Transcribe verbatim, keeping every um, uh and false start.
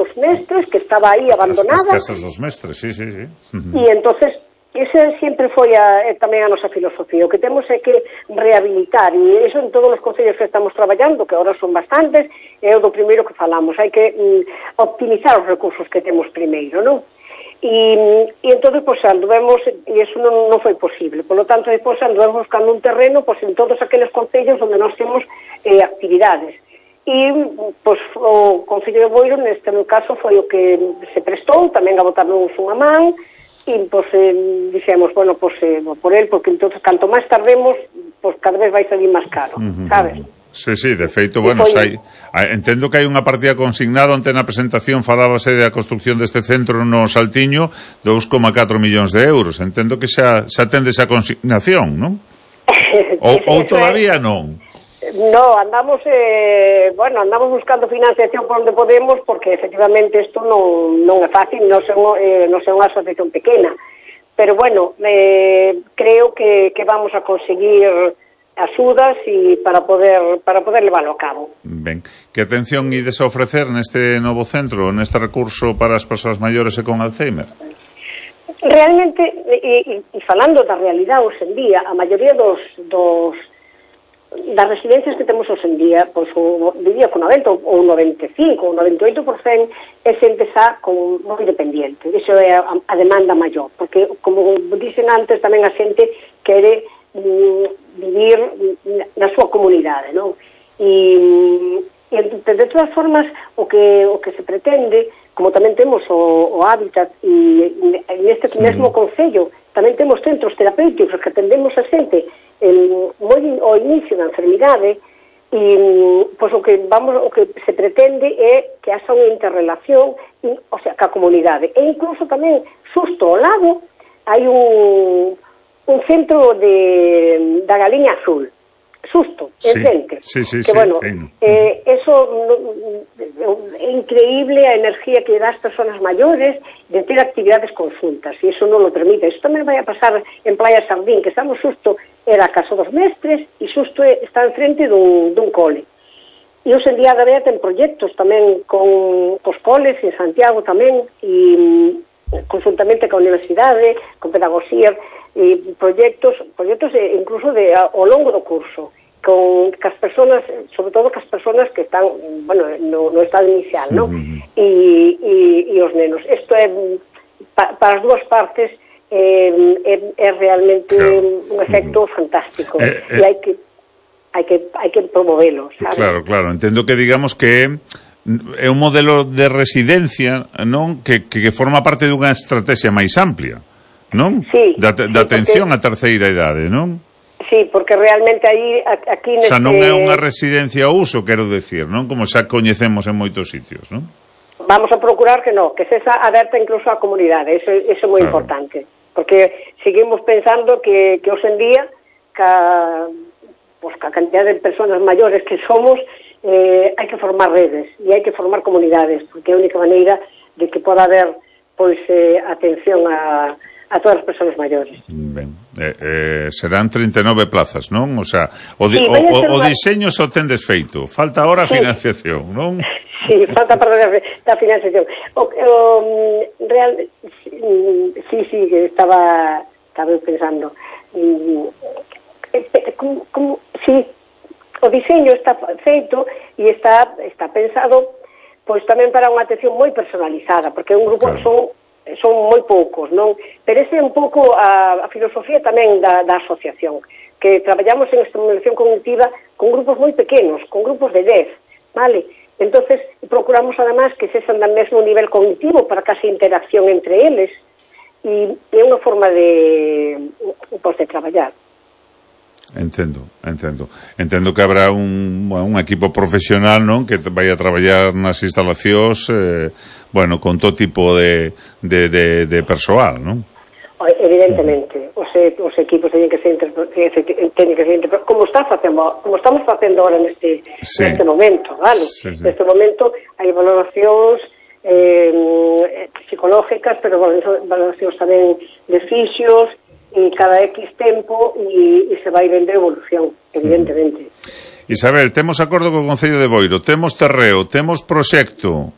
dos mestres, que estaba aí abandonada. As, as casas dos mestres, sí, sí, sí. Uh-huh. E entonces esa sempre foi a, tamén a nosa filosofía. O que temos é que rehabilitar, e iso en todos os concellos que estamos traballando, que agora son bastantes, é o do primeiro que falamos. Hai que mm, optimizar os recursos que temos primeiro, non? E, e entón, pois, anduvemos, e iso non, non foi posible. Por lo tanto, depois anduvemos buscando un terreno pois, en todos aqueles concellos onde nós temos eh, actividades. E, pois, o Concello de Boiro, neste caso, foi o que se prestou, tamén a botarnos unha man, e, pois, eh, dixemos, bueno, pois, eh, por el, porque entonces, canto máis tardemos, pois, cada vez vai salir máis caro, uh-huh. sabes? Sí, sí, de feito, bueno, sai, entendo que hai unha partida consignada onde na presentación falábase da construcción deste centro no Saltiño, dous coma catro millóns de euros. Entendo que xa, xa tende esa consignación, non? ou, ou todavía non? No, andamos, eh, bueno, andamos buscando financiación por onde podemos, porque efectivamente isto non, non é fácil, non é eh, non é unha asociación pequena, pero bueno, eh, creo que, que vamos a conseguir axudas e para poder para poder leválo a cabo. Ben, que atención ides a ofrecer neste novo centro, neste recurso para as persoas maiores e con Alzheimer? Realmente, e, e falando da realidade hoxe en día, a maioría dos, dos das residencias que temos hoxe en día, pois o diría con noventa ou noventa e cinco ou noventa e oito por cento é xente xa con moi dependiente. Iso é a, a demanda maior, porque como dicen antes, tamén a xente quere vivir na súa comunidade, non? E, e de todas formas o que o que se pretende, como tamén temos o, o hábitat e neste mesmo concello tamén temos centros terapéuticos que atendemos a xente el, moi ao inicio da enfermidade, e pois o que vamos o que se pretende é que haxa unha interrelación, o sea, ca comunidade, e incluso tamén xusto ao lado hai un un centro de da Galiña Azul, susto, sí, en centro, sí, sí, que sí, bueno, sí. Eh, eso é increíble a energía que dá as persoas maiores de ter actividades conjuntas, e eso non lo permite. Eso tamén vai a pasar en Playa Sardín, que estamos susto, era a Casa dos Mestres, e susto está en frente dun, dun cole. E hoxe en día da vea ten proxectos tamén con os coles en Santiago tamén, e conjuntamente con a universidade, con pedagogía, e proxectos, proxectos incluso de ao longo do curso, con as persoas, sobre todo cas persoas que están, bueno, no, no estado inicial, ¿no? Uh-huh. E, e, e os nenos. Isto é pa, para as dúas partes é, é, é realmente claro. Un efecto uh-huh. fantástico, eh, eh, e hai que hai que hai que promovelo, sabes? Claro, claro, entendo que digamos que é un modelo de residencia, non? Que, que, que forma parte dunha estrategia máis amplia, non? Sí, da, da sí, atención porque, á terceira idade, non? Sí, porque realmente aí aquí neste... O sea, non é unha residencia ao uso, quero decir, non? Como xa coñecemos en moitos sitios, non? Vamos a procurar que non, que se esa aberta incluso á comunidade, eso, eso é moi claro. Importante, porque seguimos pensando que, que hoxe en día ca, pues, ca cantidad de persoas maiores que somos, eh, hai que formar redes e hai que formar comunidades, porque é a única maneira de que poda haber pois eh, atención a a todas as persoas maiores. Ben, eh, eh, serán trinta e nove plazas, non? O sea, o, di, sí, o, o, o una... diseño só tendes feito, falta ahora a sí. financiación, non? Sí, falta parte da, da financiación. O, o, real, sí, sí, que estaba estaba pensando. Como, como, sí, o diseño está feito e está está pensado pois tamén para unha atención moi personalizada, porque un grupo claro. son son moi poucos, non? Pero ese é un pouco a, a filosofía tamén da, da asociación, que traballamos en estimulación cognitiva con grupos moi pequenos, con grupos de dez, vale? Entonces procuramos además que sexan do mesmo nivel cognitivo para que haxa interacción entre eles, e é unha forma de, pues, de traballar. Entendo, entendo. Entendo que habrá un, un equipo profesional, non? Que vai a traballar nas instalacións, eh, bueno, con todo tipo de, de, de, de persoal, non? Evidentemente, os, os equipos teñen que ser teñen que ser como está facendo, como estamos facendo agora neste sí. neste momento, vale? Sí, sí. Neste momento hai valoracións eh, psicológicas, pero valoracións tamén de fisios, e cada X tempo e, e se vai vendo evolución, evidentemente. Isabel, temos acordo co Concello de Boiro, temos terreo, temos proxecto,